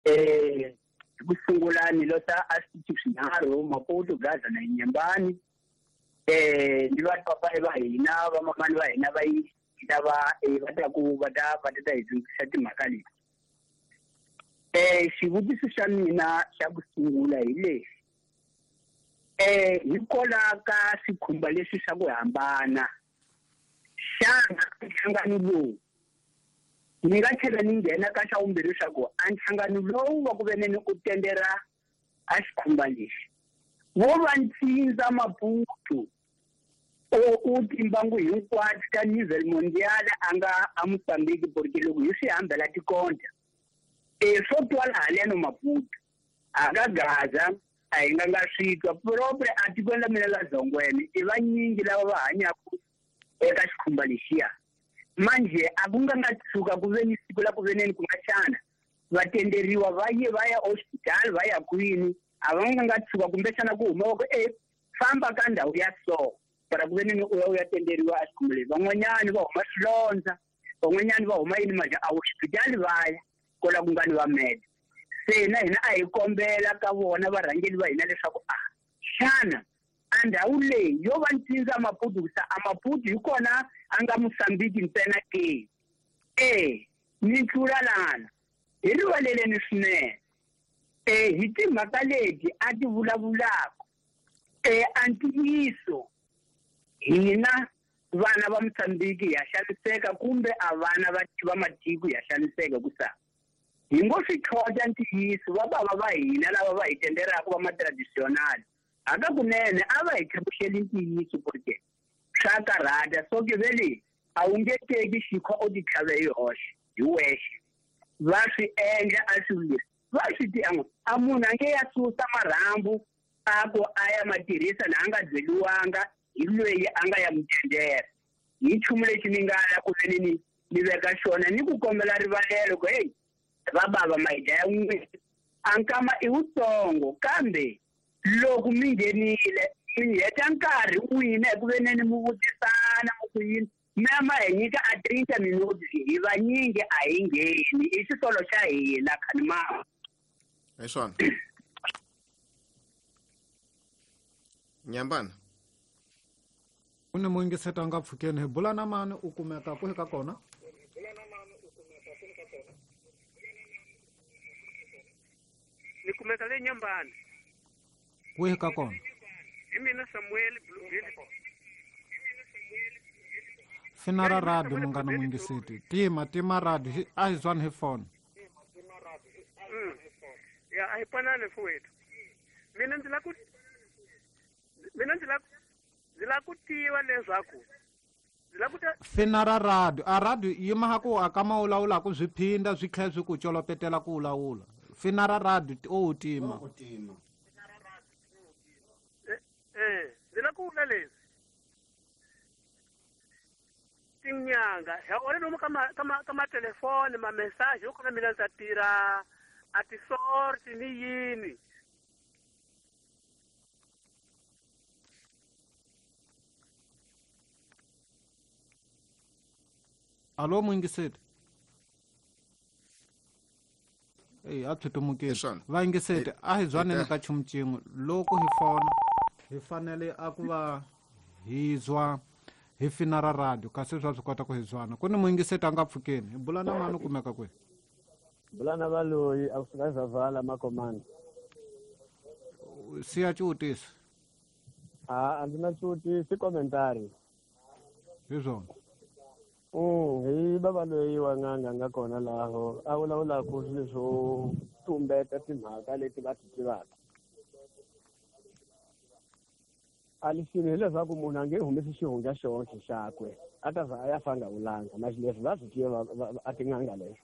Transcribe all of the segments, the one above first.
Hi ku sungula ni losa a switichi swinharhu Maputo, Gaza na Nyembani. Ni va papa va hina, va mamani va hina va yi lava va ta ku va ta va ta hi dyondzisa timhaka leti. Xivutiso xa mina xa ku sungula hi lexi. Hikola ka swikhumba leswi swa ku hambana, xana nhlangano lowu ni nga tlhela ni nghena ka xa vumbirhi leswaku a nhlangano lowu wa ku veneni u tendera a xikhumba lexi wo va ntsindza Maputo u timbangu hinkwato ta nivel mondial a nga a Mozambique, porque loko hi swi hambela tikonta swo twala haleno Maputo a ka Gaza a hi nga nga swi twa propre a tikweni la mina la Zongwene i vanyingi lava va hanyaka eka xikhumba lexiya. Manje a ku nga nga tshuka ku ve ni siku la ku veneni ku nga xana va tenderiwa va ye va ya hospital va ya kwini, a va nga nga tshuka kumbexana ku huma ku famba ka ndhawu ya so para ku veneni u ya u ya tenderiwa a xikhumba lexi. Van'wanyani va huma swilondza, van'wanyani va huma yini manje a hospital va ya kola ku nga ni va med. Se na hina a hi kombela ka vona varhangeri va hina leswaku a xana a ndhawu leyi yo va ntsindza Maputo ku sa a Maputo hi kona a nga Mozambique ntsena ke? Ni tlula lana hi rivaleleni swinene. Hi timhaka leti a ti vulavulaka a ntiyiso hina vana va Mozambique ya xaniseka kumbe a vana va matiko ya xaniseka ku sa hi ngo swi tlhota ntiyiso va bava va hina lava va hi tenderaka va ma-traditional hakakunene a va hi tlhavuxeli ntiyiso porque swa karhata. So ke vele a wu nge teki xikhwa u ti tlhave hi hoxe hi wexe, va swi endla a swi leswi va swi ti a munhu a nge ya susa marhambu a ku a ya ma tirhisa na a nga byeliwanga hi loyi a nga ya mutendera. Hi nchumu lexi ni nga ya ku veni ni veka xona ni ku kombela rivalelo ku hey va bava ma hi dlaya n'wini a nkama i wutsongo, kambe loko mi nghenile mi heta nkarhi n'wina hi ku veneni mi vutisana mi ku yini mi ya ma hi nyika a 30 minutes hi vanyingi a hi ngheni i xisolo xa hina khanimama. Hi swona Nyambana u ni muyingiseti a nga pfukeni hi bula na mani u kumeka kwihi ka kona? Ni kumeka le Nyambana. Kwihi ka kona? Hi mina Samuel Bluebill. Fina ra radio munghana muyingiseti. Tima radio a hi zwani hi phone. Ya a hi panani mfowethu. Mina ndzi la ku ndzi la ku tiva leswaku ndzi la ku ta fina ra radio a radio yima ha ku aka ma vulavulaka swi phinda swi tlhela swi ku colopetela ku vulavula. Fina ra radio o tima. Ndzi la ku vula leswi tinyanga ha ole lomu ka matelefoni ma message yo kona mina ndza tirha a ti-sort ni yini. Alo muyingiseti. A phyutumukile. Vayingiseti a hi zwaneni ka nchumu xin'we loko hi fona hi fanele a ku va hi zwa hi fina ra radio kasi swa swi kota ku hi zwana. Ku ni muyingiseti a nga pfukeni hi bula na mani u kumeka kwihi? Bula na valoyi a kusuka Zavala Makomani. Siya xivutiso. A ndzi na xivutiso, i commentary. Hi swona. Hi bava loyi wa n'anga nga kona laho a vulavulaka swilo swo tumbeta timhaka leti va ti tivaka. A lexini hileswaku munhu a nge humesi xihundla xonke xakwe a ta za a ya fa nga vulanga na leswi va swi tiva a tin'anga leswi.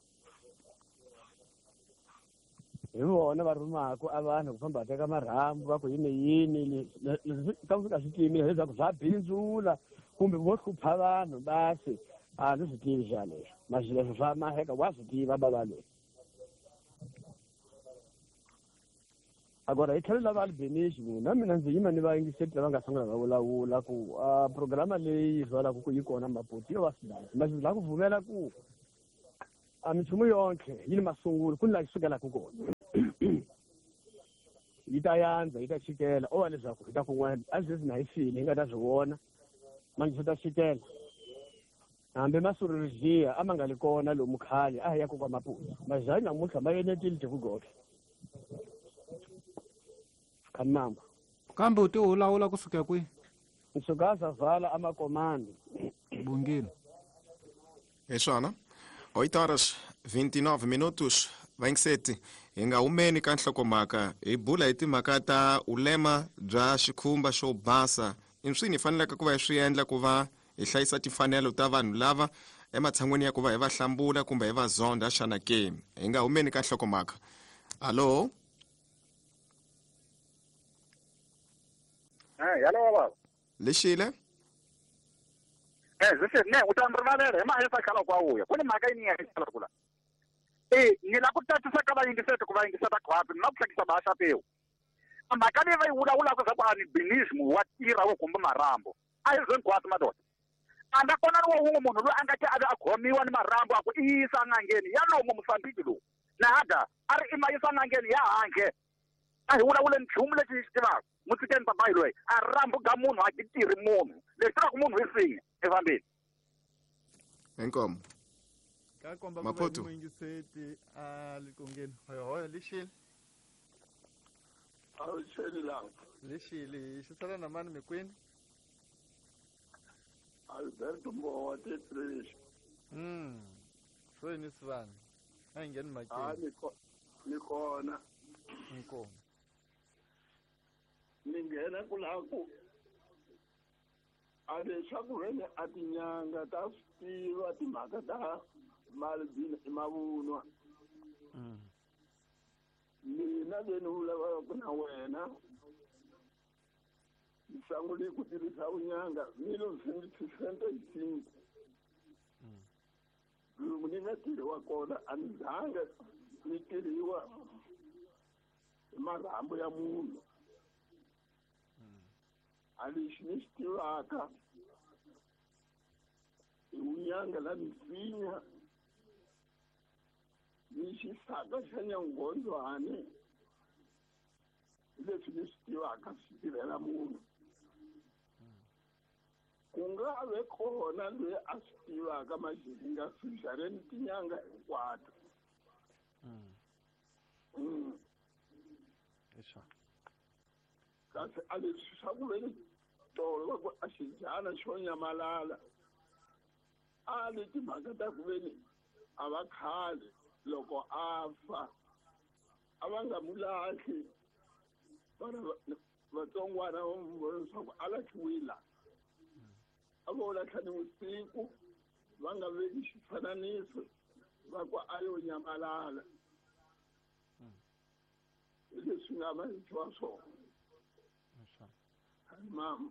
Hi vona va rhumaka a vanhu ku famba va teka marhambu va ku yini yini leswi ka fika swi timile hileswaku swa bindzula kumbe vo hlupha vanhu basi a ndzi swi tivi xa leswi masi leswi swa maheka wa swi tiva bava loyi. Agora hi tlhelo lava Albanese na mina ndzi yima ni vayingiseti lava nga sungula va vulavula ku a programa leyi yi zwalaka ku yi kona Maputo yo va swidasi masi la ku pfumela ku a minchumu yonke yi ni masungulo ku ni laha yi sukelaka kona. yi ta yandza yi ta chikela o va leswaku hi ta kun'wana a swi na hi file hi nga ta swi vona manje swi ta chikela hambi masururiziya a ma nga li kona lomu khale a hi ya kokwa Maputo mazani namuntlha ma enetile tikugohle khanimamba kambe u ti ulawula kusuka kwihi nsuka zavala amakomando bungile hi swona 8 horas 29 minutos vaingiseti hi nga humeni ka nhlokomhaka hi bula hi timhaka ta ulema bya xikhumba xo basa i swini hi faneleke ku va hi swi endla ku va hi hlayisa timfanelo ta vanhu lava ematshan'weni ya ku va hi va hlambula kumbe hi va zonda xana ke hi nga humeni ka nhlokomhaka alo hello baba lexile ne u ta rivalela hi mahisa khala kwa uya ku ni mhaka yini ya khala kula ni la ku tatisa ka vayingiseti ku va yingiseta khwapi ni la ku hlekisa baxa pewu mhaka leyi va yi vulavulaka swa ku albinism wa tirha wo kumbe marhambu a hi zwe hinkwaswo madoda a nga kona ni wa wun'we munhu loyi a nga ke a ve a khomiwa ni marhambu a ku i yisa n'angeni ya lomu Mosambiki lowu nahada a ri i ma yisa n'angeni ya handle a hi vulavule nchumu lexi hi xi tivaka mutsikeni papayi loyi a rhambu ga munhu a ki tirhi munhu lexi tivaka munhu hi sinya efambeni inkomo ka komba ku Maputo. va muyingiseti a likongeni hoyohoyo lixile Awuxeni la lixile xi sala na mani mikwini Alberto Mbowa Tetrish. Swo sivana a hi ngheni mhakeni Ni kona inkomo ni nghena ku laha ku a leswaku vene a tinyanga ta swi tiva timhaka ta malibini i mavunwa mina leni vulavulaka na wena ni sungule ku tirhisa vunyanga 1965 lomu ni nga tirhiwa kona a ni zanga ni tirhiwa hi marhambu ya munhu a lexi ni xi tivaka i vunyanga la misinya ni xisaka xa nyangondzwani hi leswi ni swi tivaka swi tirhela munhu ku nga ve kona loyi a swi tivaka maxi nga swi xareni tinyanga hinkwato kasi a leswi swa ku veni tolo va ku a xidyana xo nyamalala a le timhaka ta ku veni a va khale loko a fa a va nga mu lahli vana vatsongwana va mu vona leswaku a lahliwile a vo lahla ni vusiku va nga veki xifananiso va ku a yo nyamalala hi leswi nga mahiwa swona mama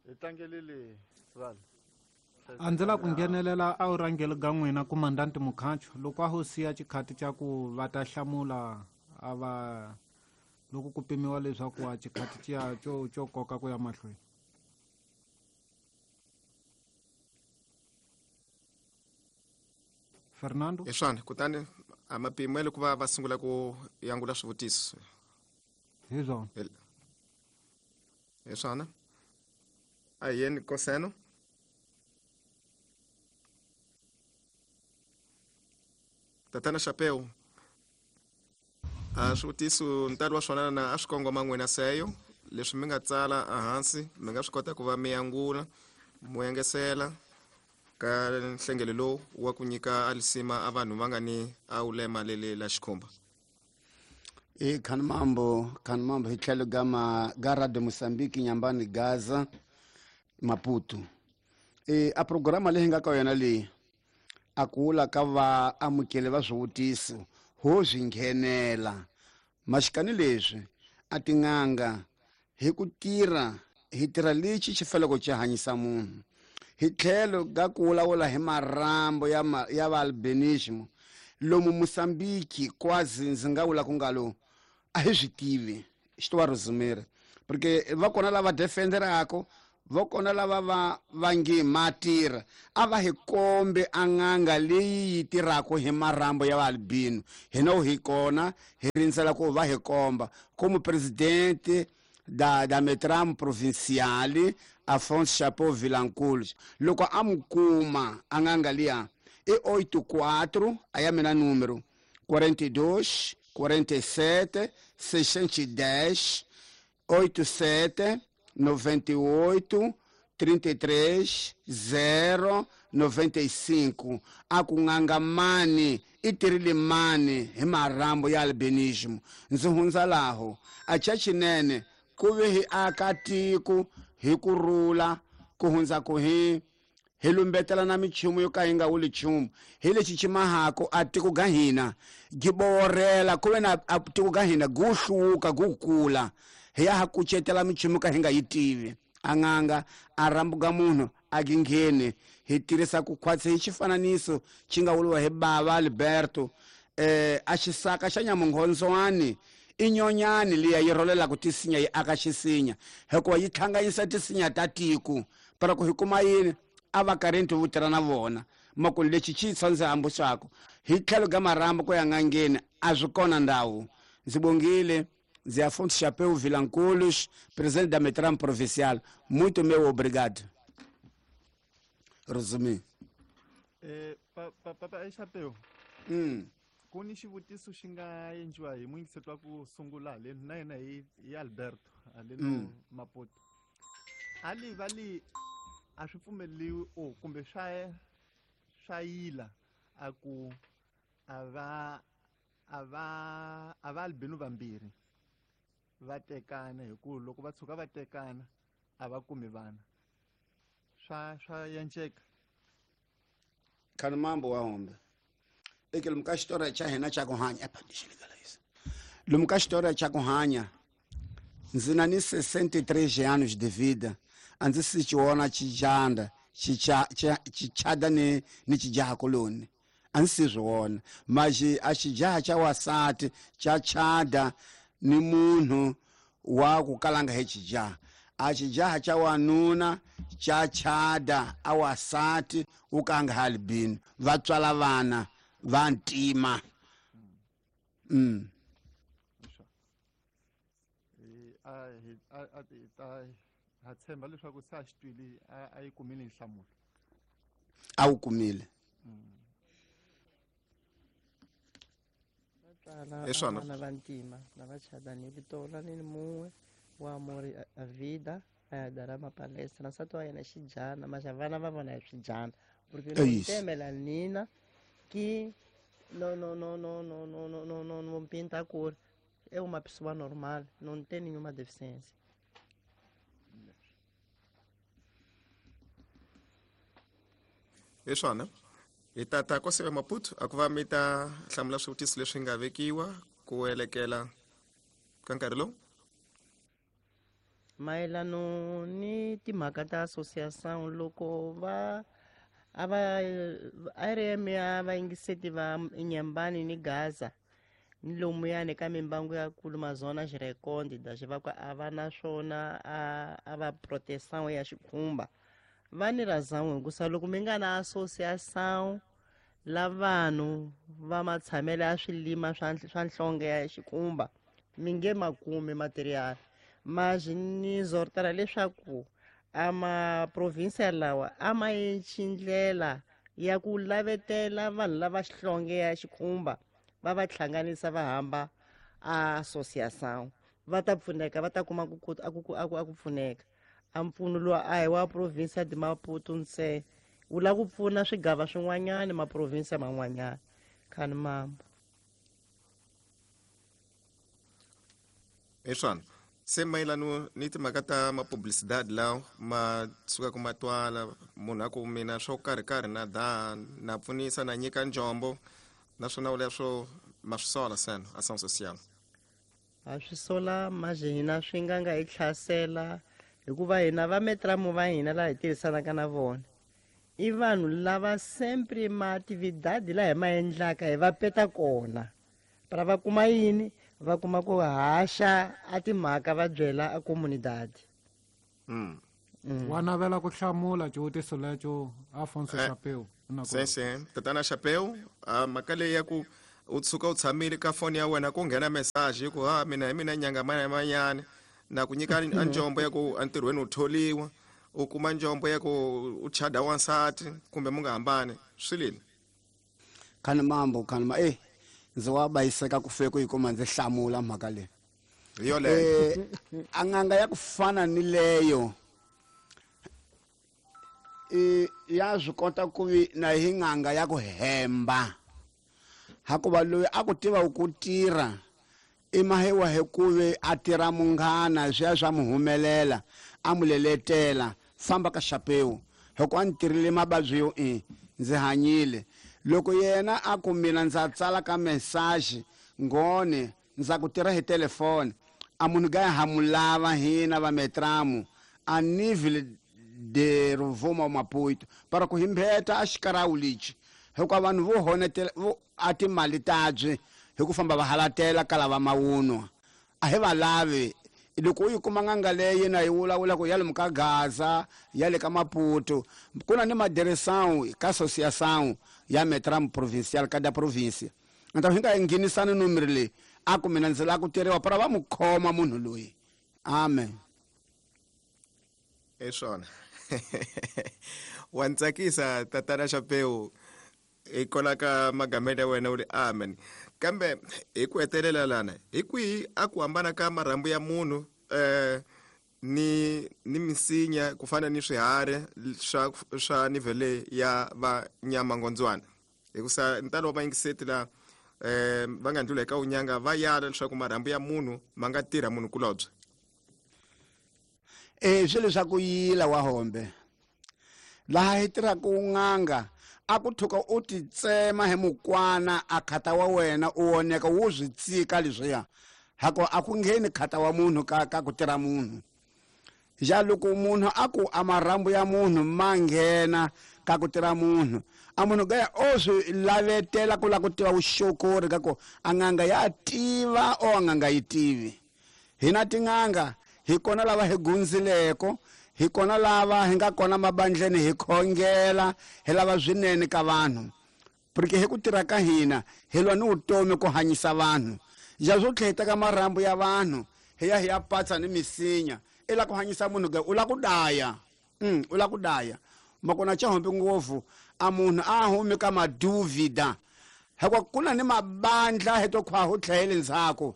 hi tlangelile sivana a ndzi la ku nghenelela a wu rhangeli ga n'wina kumandanti Mukhancho loko a ho siya xikhati xa ku va ta hlamula a va loko ku pimiwa leswaku a xikhati xiya xo koka ku ya mahlweni Fernando hi swona kutani a mapimelo ku va va sungula ku yangula swivutiso hi swona hi swona a hi yeni koseno Tatana Chapeu a swivutiso ntalo wa swona na a swi kongoma n'wina seyo leswi mi nga tsala ehansi mi nga swi kota ku va mi yangula mo yengesela ka nhlengelo lowu wa ku nyika alisima a vanhu va nga ni a ulema lele la xikhumba e khanimambo hi tlhelo ga Radio Mozambique Nyambani Gaza Maputo e a programa leyi nga ka yona leyi a ku wula ka va amukeli va swivutiso ho swi nghenela maxikani leswi a tin'anga hi ku tirha hi tirha lexi xi faneleke xi hanyisa munhu hi tlhelo ga ku vulavula hi marhambu ya va albinism lomu Mozambique kwazi ndzi nga vula ku nga lo a hi swi tivi xi to va resumere porque va kona lava defenderako vo kona lava va va nge ma tirha a va hi kombe a n'anga leyi yi tirhaka hi marhambu ya vaalbino. Hina hi kona hi rindzela ku va hi komba como presidente da Metram Provincial Afonso Chapeau Vilanculos, loko a mu kuma a n'anga liya i 84 a ya mina número 42 47 610 87 98 33 0 95. A ku n'anga mani i tirhile mani hi marhambu ya albinismo. Ndzi hundza laho a chachinene ku ve hi aka tiko hi ku rhula ku hundza ku hi lumbetela na michumu yo ka yi nga wuli nchumu hi lexi xi mahako a tiko ga hina gi borela ku ve na a tiko ga hina gu hluka gu kula hi ya ha kucetela michumu ka hi nga yi tivi. A n'anga a rhambuka munhu a gi ngheni hi tirhisa ku khwatsi hi xifananiso xi nga vuriwa hi bava Alberto a xisaka xa nyamunghondzwani i nyonyani liya yi rholelaka tisinya yi aka xisinya hikuva yi hlanganyisa tisinya ta tiko para ku hi kuma yini a va karhi vo tirha na vona mako lexi xi tsandze hambusako hi tlhelo ka marhambu ku ya n'angeni a swi kona ndhawu. Ndzi bongile ndzi Afonso Chapeu Vilanculos, presidente da Metram Provincial. Muito meu obrigado. Resumi. Papa Chapeu. Ku ni xivutiso xi nga endliwa hi muyingiseti wa ku sungula haleni na yena hi Alberto haleni Maputo. Ali va li a swi pfumeleriwi o kumbe swa yila a ku a va albino vambirhi va tekana hi ku loko va tshuka va tekana a va kumi vana swa yanceka. Khani mambo wa hombe eke lomu ka xitori xa hina xa ku hanya lomu ka xitori xa ku hanya ndzi na ni 63 anos de vida a ndzi si xi vona xijanda xichada ni xijaha koloni a ndzi si swi vona maxi a xijaha xa wasati xa chada ni munhu wa ku kalanga hi xijaha a xijaha xa wanuna xa chada a wasati wu ka nga albino va tswala vana va ntima. Ha tshemba leswaku se a xi twile a yi kumile nhlamulo. A wu kumile. Hi swona. Vana va ntima lava chadani vito la ni mun'we wa Amori Avida a ya dara mapalesa na nsati wa yena xijana maxa vana va vona hi swijana porque no temela nina que no no no no no no no no no não pinta a cor, é uma pessoa normal, não tem nenhuma deficiência. Hi swona. Hi tata Koseve Maputo a ku va mi ta hlamula swivutiso leswi nga vekiwa ku elekela ka nkarhi lowu. Mayelano ni timhaka ta associação loko va a va RM ya vayingiseti va Inhambane ni Gaza ni lomuyani ka mimbangu ya kulu mazona xirekondi da xi va ku a va na swona a va proteção ya xikhumba va ni razão hikusa loko mi nga na associação la vanhu va matshamelo ya swilima swa nhlonge ya xikhumba mi nge makumi material mas ni zortela leswaku a maprovinsia lawa a ma yenci ndlela ya ku lavetela vanhu lava xihlonge ya xikhumba va va hlanganisa va hamba a associação va ta pfuneka va ta kuma a ku pfuneka. A mpfuno lowu a hi wa provinsia de Maputo ntsena wu lava ku pfuna swigava swin'wanyana maprovinsia man'wanyana. Khani mambo. Hi swona. Se mayelano ni timhaka ta mapublicidade lawa ma sukaka ma twala munhu a ku mina swo karhi karhi na da na pfunisa na nyika njombo naswona leswo ma swi sola seno ação social. A swi sola maje hina swi nga nga hi hlasela hikuva hina va metramu va hina laha hi tirhisanaka na vona i vanhu lava sempre ma atividade laha hi ma endlaka hi va peta kona para va kuma yini va kuma ku haxa a timhaka va byela a comunidade. Wa navela ku hlamula xivutiso lexo Afonso Chapeu. Sese tatana Chapeu, mhaka leyi ya ku u tshuka u tshamile ka foni ya wena ku nghena message ku ha mina hi mina nyanga manyana na ku nyika a njombo ya ku entirhweni u tholiwa, u kuma njombo ya ku u chada wansati kumbe mu nga hambani swi lini? Khani mambo khani ma ndzi wa bayiseka ku fike ku yi kuma ndzi hlamula mhaka leyi. Hi yoleyo. A n'anga ya ku fana ni leyo ya swi kota ku vi na hi n'anga ya ku hemba. Hakuva loyi a ku tiva ku tirha i mahewa hi ku ve a tirha munghana swi ya swa mu humelela a mu leletela famba ka Chapeu hikuva a ni tirhile mavabyi yo ndzi hanyile. Loko yena a ku mina ndza tsala ka message ngone ndza ku tirha hi telefoni a munhu ga ha mu lava hina va metramu a nível de Rovuma Maputo para ku himbeta a xikarawu lexi hikuva vanhu vo honetela vo a timali tabyi hi ku famba va halatela ka lava mawunwa a hi va lavi. Loko u yi kuma n'anga leyi na yi vulavula ku ya lomu ka Gaza ya le ka Maputo ku na ni madereção ka associação ya Metram provincial kada província então hi nga nghenisani numero leyi a ku mina ndzi lava ku tirhiwa para va mu khoma munhu loyi. Amen. Hi swona. Wa ni tsakisa tatana Chapeu hi kola ka magamelo ya wena u ri amen. Kambe hi ku hetelela lana hi kwihi a ku hambana ka marhambu ya munhu ni misinya ku fana ni swiharhi swa nivele ya va nyamangondzwana? Hikusa ntalo wa vayingiseti la va nga ndlula eka unyanga va yala leswaku marhambu ya munhu ma nga tirha munhu kulobye. Swi leswaku yila wa hombe laha hi tirhaka n'anga a ku thuka u ti tsema hi mukwana a khata wa wena u oneka wu swi tsika leswiya hako a ku ngheni khata wa munhu ka ku tirha munhu. Ja loko munhu a ku a marhambu ya munhu ma nghena ka ku tirha munhu a munhu gaya o swi lavetela ku lava ku tiva vuxokori ka ku a n'anga ya tiva o a n'anga yi tivi. Hina tin'anga hi kona lava hi gundzileko, hi kona lava hi nga kona mabandleni hi khongela hi lava swinene ka vanhu porque hi ku tirha ka hina hi lwa ni vutomi ku hanyisa vanhu. Ja swo tlheta ka marhambu ya vanhu hi ya hi ya patsa ni misinya i la ku hanyisa munhu ga u la ku daya. U la ku daya makona cha hombe ngopfu a munhu a humi ka maduvida hikuva ku na ni mabandla hi to khwa ho tlhele ndzhaku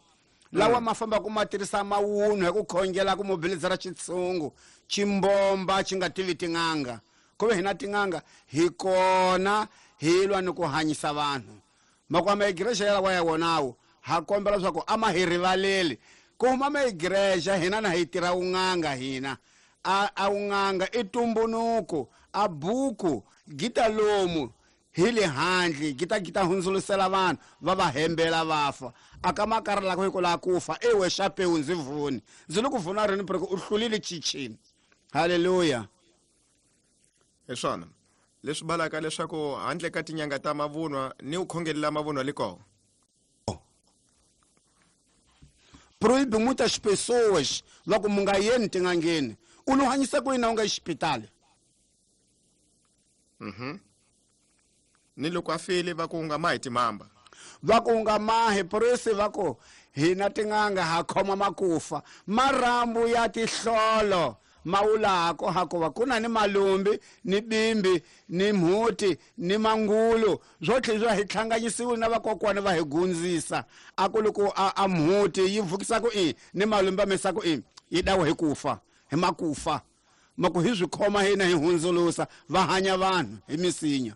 lawa ma famba ku ma tirhisa mawunhu hi ku khongela ku mobilizera xitshungu ximbomba xi nga tivi tin'anga ku ve hina tin'anga hi kona hi lwa ni ku hanyisa vanhu. Makwama igreja ya lawa ya wonawo ha kombela leswaku a ma hi rivaleli ku huma ma igreja hina na hi tirha un'anga hina a un'anga i tumbunuko a buku gita lomu hi le handle gita hundzulusela vanhu va va hembela va fa a ka makara la ku la ku fa ewe Chapeu ndzi vuni ndzi le ku vuna rini porque u hlulile chichini. Haleluya. Hi swona leswi balaka leswaku handle ka tinyanga ta mavunwa ni u khongelela mavunwa li kona. Proíbe muitas pessoas loko mu nga yeni tin'angeni u lo hanyisa ku yini u nga xipitali. Ni loko a file va ku nga mahi timamba va ku nga mahi presi va ku hina tin'anga ha khoma makufa marhambu ya tihlolo mawulako hakuva ku na ni malumbi ni bimbi ni mhuti ni mangulu swo tlhela swa hi tlhanganyisiwe na vakokwana va hi gundzisa a ku loko a mhuti yi vukisa ku i ni malumbi a misa ku i yi dawa hi kufa hi makufa maku hi swi khoma hina hi hundzulusa va hanya vanhu hi misinya.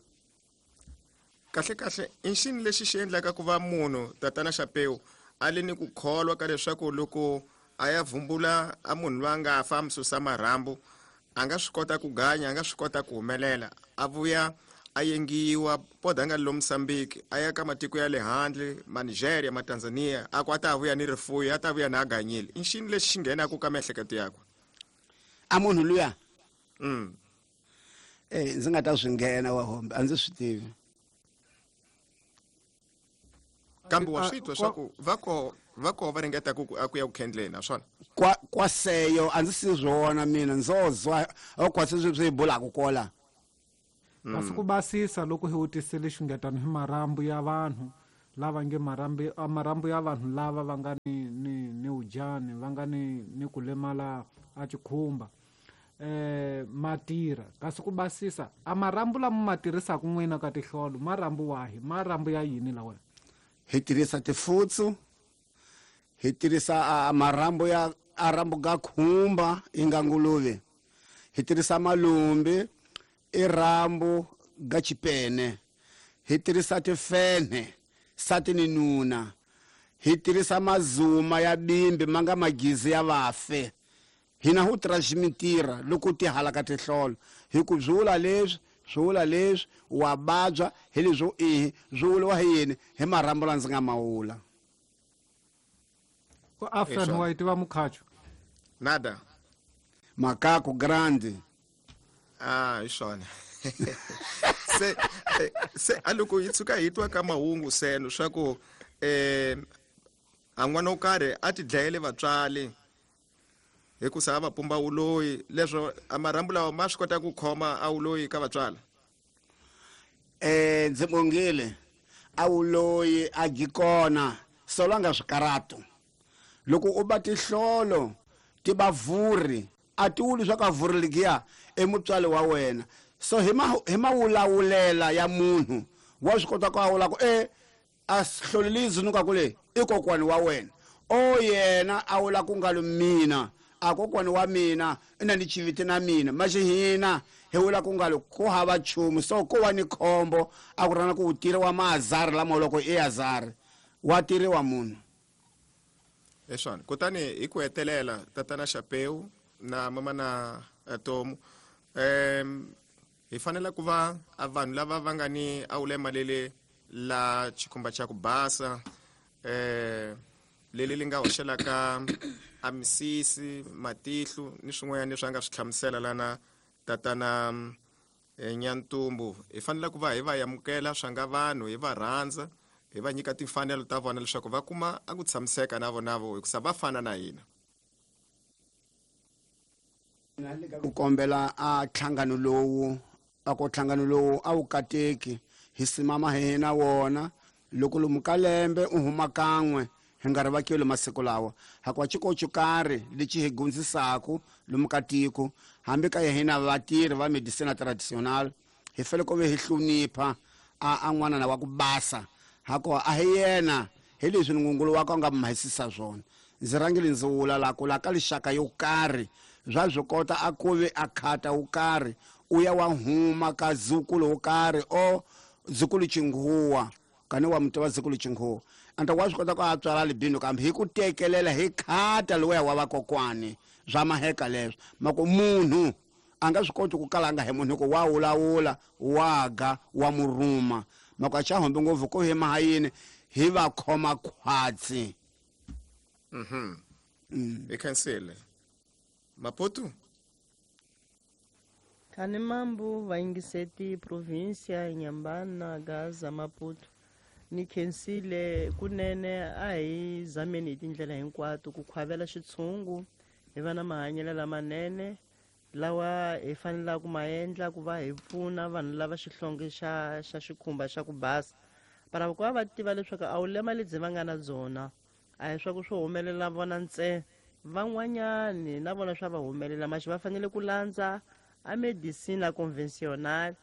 Kahle kahle i xini lexi xi endlaka ku va munhu tatana Chapeu a le ni ku kholwa ka leswaku loko a ya vumbula a munhu loyi a nga fa a mi susa marhambu a nga swi kota ku ganya a nga swi kota ku humelela a vuya a yengiwa poda nga lo Mozambique a ya ka matiko ya le handle ma Nigeria ma Tanzania a ku a ta vuya ni rifuyo a ta vuya na a ganyile i xini lexi xi nghenaka ka miehleketo yakwe a munhu luya? Ndzi nga ta swi nghena wa hombe a ndzi swi tivi. Kambe wa swi twa swa ku va ko va ringeta ku ku ya ku khendleni naswona Kwa seyo a ndzi si swona mina ndzozwa okwase swi bulaka kola. Kasi ku basisa loko hi vutisile xungetano hi marhambu ya vanhu lava nge marhambu ya vanhu lava va nga ni ujani va nga ni ku lemala a xikhumba matira kasi ku basisa a marhambu lama ma tirhisaka n'wina ka tihlolo marhambu wahi marhambu ya yini lawa? Hi tirhisa tifutsu, hi tirhisa marhambu ya arambu ga khumba inga nguluve, hi tirhisa malumbi i rambu ga chipene, hi tirhisa tifenhe sati ni nuna, hi tirhisa mazuma ya bimbi manga magizi ya vafe. Hina hu transmitira loko ti halaka tihlolo hi ku byula leswi swi leswi wa vabya hi leswo ihi swi vuriwa hi yini hi marhambu la ndzi nga mawula. Ku after wa tiva mukhacho nada makako grande. Ah, hi swona. Se a loko yi tshuka hi twa ka mahungu seno swa ku a n'wana wo karhi a ti dlayele vatswari hikusa a va pumba wuloyi, leswo a marhambu lawa ma swi kota ku khoma a wuloyi ka vatswala? Ndzi bongile a wuloyi a gi kona solanga swikarato. Loko u ba tihlolo ti ba vuri a ti wuli swa ka vuri ligiya i mutswali wa wena. So hi mawulawulela ya munhu wa swi kota ku awula ku a hlolelizi nuka kule i kokwani wa wena o yena a wula ku nga mina a kokwani wa mina i na ni chiviti na mina maxi hina hi wula ku nga ku hava nchumu. So ko wa ni khombo a ku rana ku u tiriwa maazari lama loko i azari wa tiriwa munhu. Eswani kutani hi ku hetelela tatana Chapeu na mama na Tomu hi fanele ku va a vanhu lava va nga ni awulema lele la xikhumba xa ku basa leli li nga hoxelaka a misisi matihlo ni swin'wanyana leswi a nga swi hlamusela lana tatana Nyantumbu, hi fanele ku va hi va amukela swa nga vanhu, hi va rhandza, hi va nyika timfanelo ta vona leswaku va kuma a ku tshamiseka na vona vo hikusa va fana na hina. Ku kombela a nhlangano lowu a ku nhlangano lowu a wu kateki hi simama hina wona loko lomu ka lembe u huma kan'we hi nga ri vakeli masiku lawa hakuva xikoxo karhi lexi hi gundzisaku lomu ka tiko hambi ka hina vatirhi va medicina traditional hi fanele ku ve hi hlonipha a n'wana wa ku basa hakuva a hi yena hi leswi ngungulu wa ka nga mahisisa swona. Ndzi rhangile ndzi wula la ku la ka lixaka yo karhi bya swi kota a ku ve a khata wo karhi u ya wa huma ka zukulu wo karhi o zukulu chinghuwa kani wa muti wa zukulu chinghuwa anta wa swi kota ku a tswala libino kambe hi ku tekelela hi khata lowuya wa vakokwani swa maheka leswo mako munhu a nga swi koti ku kalanga hi munhu ku wa wulawula wa ga wa murhuma mako a xa hombi ngopfu ku hi mahayini hi va khoma khwatsi. Hi khensile Maputo. Khani mambu vayingiseti provincia Inhambane Gaza Maputo ni khensile kunene a hi zameni hi tindlela hinkwato ku khwavela xitshungu hi va na mahanyelo lamanene lawa hi fanelaka ku ma endla ku va hi pfuna vanhu lava xihlonge xa xikhumba xa ku basa para ku va va tiva leswaku a wu lema lebyi va nga na byona a hi swa ku swi humelela vona ntsena van'wanyani na vona swa va humelela maxi va fanele ku landza a medicina conventional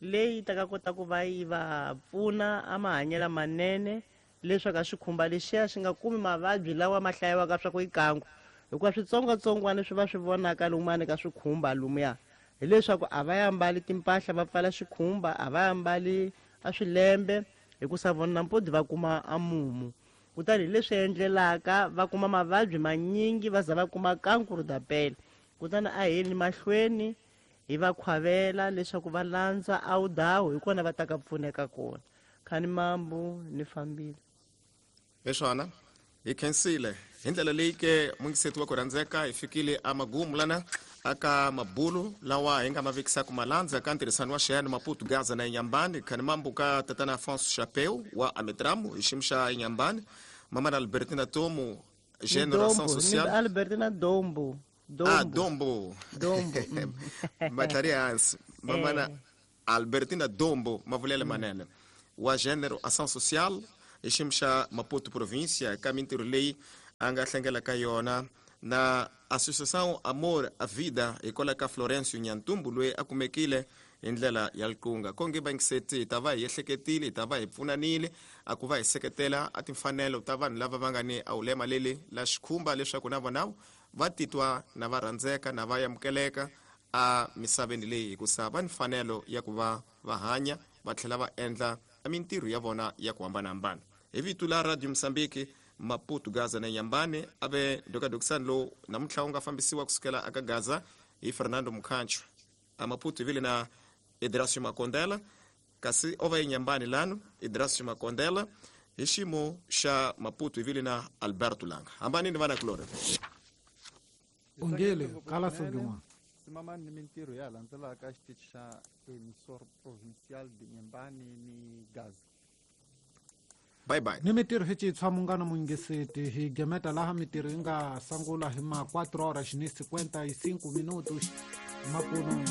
leyi ta ka kota ku va yi va pfuna a mahanyelo manene leswaku a xikhumba lexiya xi nga kumi mavabyi lawa ma hlayiwaka swa ku i kangu hikuva switsongwatsongwana swi va swi vonaka lumani ka swikhumba lumuya hileswaku a va ambali timpahla va pfala xikhumba a va ambali a swilembe hikusa vona nampodi va kuma a mumu kutani hi leswi endlelaka va kuma mavabyi manyingi va za va kuma kankuru da pele kutani a heni mahlweni hi va khwavela leswaku va landza awudawu hi kona va ta ka pfuneka kona. Khani mambu ni fambile. Leswana hi khensile hi ndlela leyi ke mungiseti wa ku rhandzeka hi fikile amagumu lana aka mabulu lawa hi nga ma vekisaka malandza ka ntirhisano wa xiyani Maputo Gaza na Inhambane. Khani mambu ka tatana Afonso Chapeu wa Ametramu hi xiyimo xa Inhambane, mama na Albertina Tomu Gênero Ação Social. Albertina Dombo. Dombo. Ah, Dombo. Dombo. Matlari hansi. Mamana Albertina Dombo, mavulele manene. Wa Gênero Ação Social, hi xiyimo xa Maputo província, ka mintirho leyi a nga hlengela ka yona na Associação Amor a Vida hikwalaho ka Florencio Nyantumbu loyi a kumekile hi ndlela ya liqunga. Konge bangiseti hi ta va hi ehleketile, hi ta va hi pfunanile a ku va hi seketela a timfanelo ta vanhu lava va nga ni a ulema leli la xikhumba leswaku na vona va titwa na va rhandzeka na va amukeleka a misaveni leyi, hikusa va ni mfanelo ya ku va va hanya va tlhela va endla mintirho ya vona ya ku hambanahambana. Hi vito la Radio Mozambique, Maputo, Gaza na Nyambane, a ve ndokadokisani lowu namuntlha wu nga fambisiwa kusukela aka Gaza hi Fernando Mukhancho. A Maputo hi vile na Idrasio Makondela, kasi o va eNyambane lano Idrasio Makondela, hi xiyimo xa Maputo hi vile na Alberto Langa. Hambanini vana kulorhi. Ungele kala sugin'wana. Simamani ni mintirho ya landzelaka xitichi xa Emissor Provincial de Nyembani ni Gaza. Bye bye. Ni mintirho hi citshwa munghana mungiseti hi gemeta laha mintirho yi nga sungula hi ma 4 horas ni 55 minutos makuno.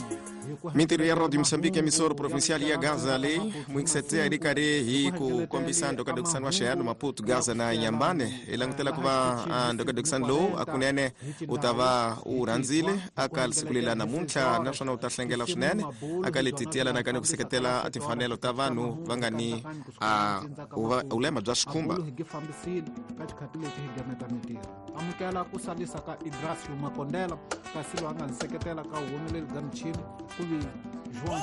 Mintirho ya Radio Mozambique, emissora provincial ya Gaza leyi muingiseti a ri karhi hi ku kombisa ndokadokisani wa xihano Maputo, Gaza na Nyambane. Hi langutela ku va ndokadokisani lowu a kunene u ta va u rhandzile aka siku leri la namuntlha, naswona u ta hlengela swinene aka leti ti yelanaka ni ku seketela timfanelo ta vanhu va nga ni ulema bya xikhumba. Hi fambisile ka xikhati lexi hi gameta mintirho. Amukela ku salisa ka Idrasio Makondela, kasi loyi a nga ni seketela ka humeleli bya michini ku vi João